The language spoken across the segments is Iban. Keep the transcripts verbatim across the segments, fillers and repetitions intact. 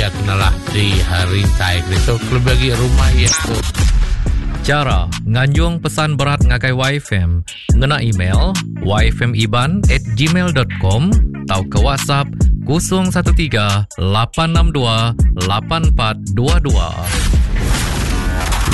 iya kenalah di rintai itu lebih lagi rumah iya tu. Cara nganjung pesan berat ngagai Y F M ngena email y f m iban at gmail dot com atau ke WhatsApp kosong satu tiga lapan enam dua lapan empat dua dua.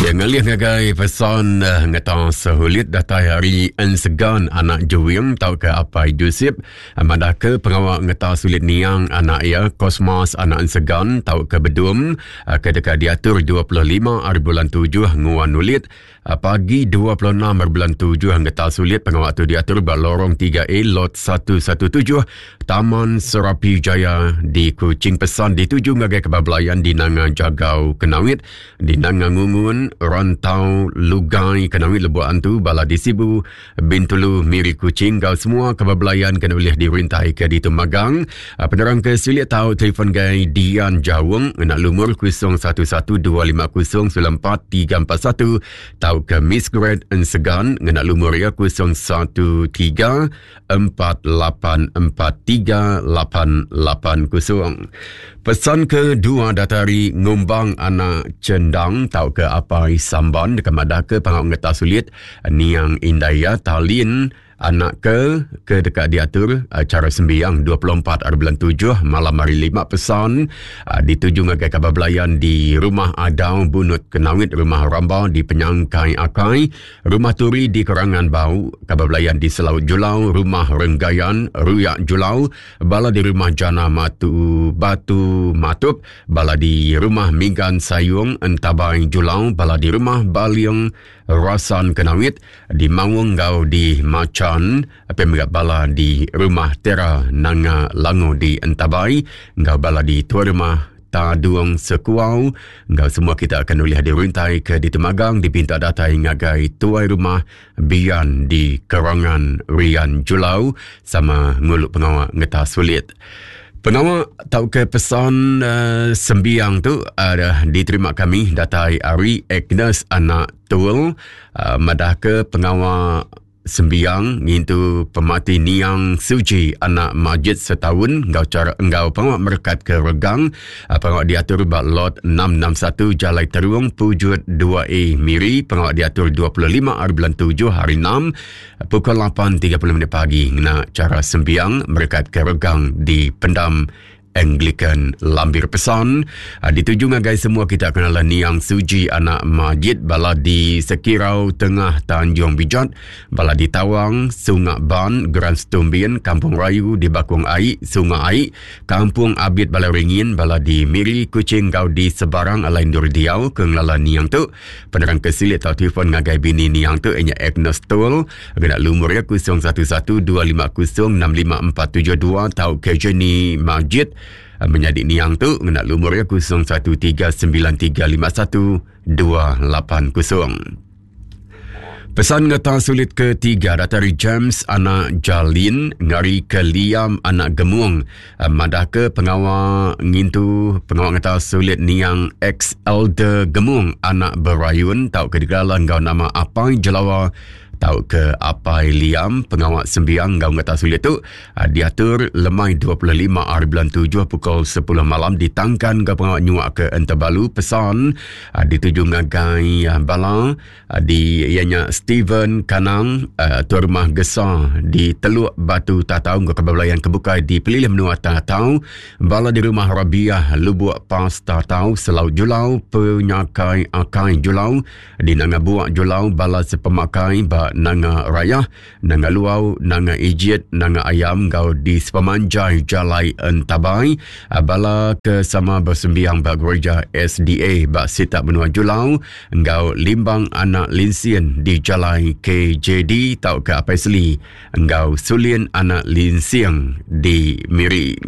Ya, ngalih ngagai pesan uh, ngetang sehulit datai hari ensegan anak Juwing tau ke apai Joseph madah ke pengawak ngetang sulit niang anak ia Kosmas anak ensegan tau ke bedum uh, ke dekat diatur dua puluh lima hari bulan tujuh nguan nulit uh, pagi dua puluh enam hari bulan tujuh ngetang sulit pengawak tu diatur ba lorong tiga A lot satu satu tujuh Taman Serapi Jaya di Kuching. Pesan dituju ngagai kebablayan di Nanga Jagau Kenawit, di Nanga Ngungun, Rantau Lugai Kenawit, Lebuh Antu, Bala di Sibu, Bintulu, Miri, Kuching. Kau semua kebablayan kena boleh dirintai ke di Temagang. Penerang ke silik tahu telefon gai Dian Jawung nak lumur kosong satu satu dua lima kosong sembilan empat tiga empat satu tahu ke Miss Grand Ensegan ngena lumur ya kosong satu tiga empat lapan empat tiga lapan lapan kosong. Pesan kedua datari ngumbang anak cendang tau ke apai samban dekat madah ke pangau ngetah sulit niang indaya talin anak ke ke dekat diatur acara sembiang dua puluh empat hari bulan tujuh malam hari lima. Pesan uh, dituju ngagai kabar belayan di rumah Adau Bunut Kenawit, rumah Ramba di Penyangkai Akai, rumah Turi di Kerangan Bau, kabar belayan di Selaut Julau, rumah Renggayan Ruyak Julau, bala di rumah Jana Matu Batu Matup, bala di rumah Minggan Sayung Entabai Julau, bala di rumah Baliang Rasan Kenawit, di Mawung Gau di Macan, pemilik bala di rumah Tera Nanga Lango di Entabai, ngau bala di tuan rumah Taduang Sekuau. Ngau semua kita akan boleh dirintai ke di Temagang dipinta datai ngagai tuai rumah Bian di Kerangan Rian Julau sama nguluk pengawak ngetah sulit. Pengawak tau ke pesan uh, sembiang tu uh, diterima kami datai ari Agnes anak Tul uh, madah ke pengawak sembiang ngintu pemati niang Suji anak Majid setahun ngau cara engau pengawak merekat ke regang pengawak diatur bak lot enam enam satu Jalai Teruang Pujut dua A Miri. Pengawak diatur dua puluh lima hari bulan tujuh hari enam pukul lapan tiga puluh minit pagi ngena cara sembiang merekat ke regang di Pendam Anglican Lambir. Pesan dituju ngagai semua kita kenalan niang Suji anak Majid, bala di Sekirau Tengah Tanjung Bijat, bala di Tawang, Sungai Ban, Grand Stumbin, Kampung Rayu di Bakung Aik, Sungai Aik, Kampung Abid Balai Ringin, bala di Miri, Kuching, Gau di Sebarang Alain Dur Diau ke ngelala niang tu. Penerang kesilit atau telefon ngagai bini niang tu ianya Agnes Tol, kena lumur ya kosong satu satu dua lima kosong enam lima empat tujuh dua atau ke Jenny Majid menjadi niang tu ngena lumur ya kosong satu tiga sembilan tiga lima satu dua lapan kosong. Pesan ngetah sulit ketiga datari James anak Jalin ngari ke Liam anak Gemung madah ke pengawal ngintu pengawal ngetah sulit niang ex elder Gemung anak Berayun tau ke digelar ngau nama Apai Jelawa tau ke Apai Liam. Pengawak sembiang ngau ngetah sulit tu diatur lemai dua puluh lima hari bulan tujuh pukul sepuluh malam ditangkan ke pengawak nyuak ke Entabalu. Pesan dituju ngagai bala di ianya Steven Kanang tuan rumah Gesa di Teluk Batu Tatau ke kebelayan kebukai di Pelilih Menua Tatau, bala di rumah Rabiah Lubuk Pas Tatau Selaut Julau Penyakai Akai Julau di Nanga Buak Julau, bala sepemakai ba Nanga Raya, Nanga Luau, Nanga Ijit, Nanga Ayam gau di sepemanjai Jalai Entabai, bala ke sama bersembiang ba gereja S D A ba Sitak Benua Julau, engau Limbang Anak Linsien di Jalai K J D tau ke Apai Seli, engau Sulin Anak Linsiang di Miri.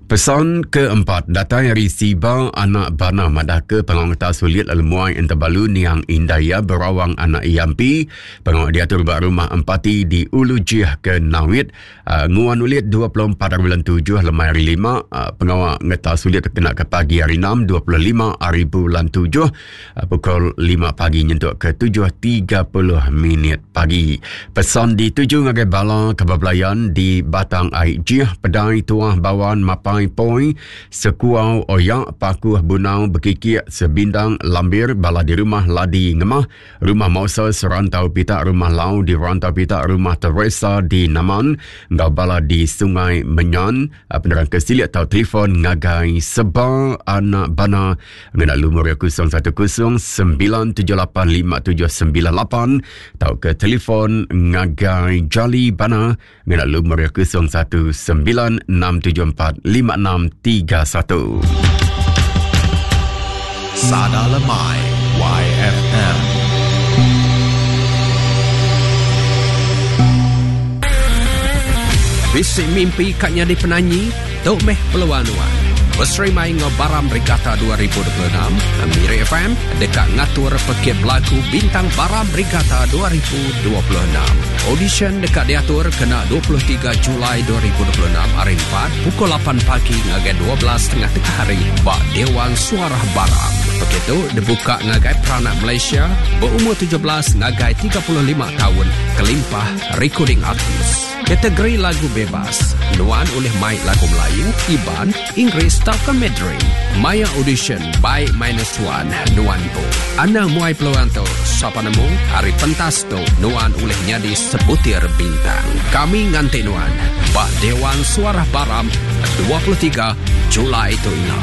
Pesan keempat datang dari Siba anak Bana madah ke pengawak sulit lemuai Entabalu niang Indaya Berawang anak Yampi. Pengawak diatur bak rumah Empati di Ulu Jih ke Nawit. Uh, nguan ulit dua puluh empat hari bulan tujuh lemai hari lima. Uh, pengawak ngetah sulit kena ke pagi hari enam dua puluh lima hari bulan tujuh uh, pukul lima pagi nyentuk ke tujuh tiga puluh minit pagi. Pesan dituju ngagai bala kebablayan di Batang Aik Jih, Pedai Tuah Bawan Mapan Jalai Poi, Sekuau Oyak, Pakuh Bunau, Bekikik, Sebindang, Lambir, bala di rumah Ladi Ngemah, Rumah Moses, Rantau Pitak, Rumah Lau di Rantau Pitak, Rumah Teresa di Naman, enggau bala di Sungai Menyan. Penerang ke silik atau telefon ngagai Seba Anak Bana ngena lumur kosong satu kosong sembilan tujuh lapan lima tujuh sembilan lapan atau ke telefon ngagai Jali Bana ngena lumur kosong satu sembilan enam tujuh empat lima enam tiga satu. Sada Lemai Y F M. Bisi mimpi katnya di penanyi, tok meh peluang nuan. Berserimai ngau Baram Regatta dua ribu dua puluh enam, Miri F M dekat ngatur pekit belagu Bintang Baram Regatta dua ribu dua puluh enam. Audition dekat diatur kena dua puluh tiga Julai dua ribu dua puluh enam hari empat pukul lapan pagi ngagai dua belas setengah tengah hari bak Dewan Suara Baram. Begitu dibuka ngagai peranak Malaysia berumur tujuh belas ngagai tiga puluh lima tahun kelimpah recording artis. Kategori lagu bebas, nuan oleh mic lagu Melayu, Iban, Inggeris tauka Mandarin. Maya audition by minus one, nuan po. Anda muai peluang tu, sapa nemu, hari pentas tu, nuan oleh nyadi sebutir bintang. Kami nganti nuan, bak Dewan Suara Baram, dua puluh tiga Julai tu ina.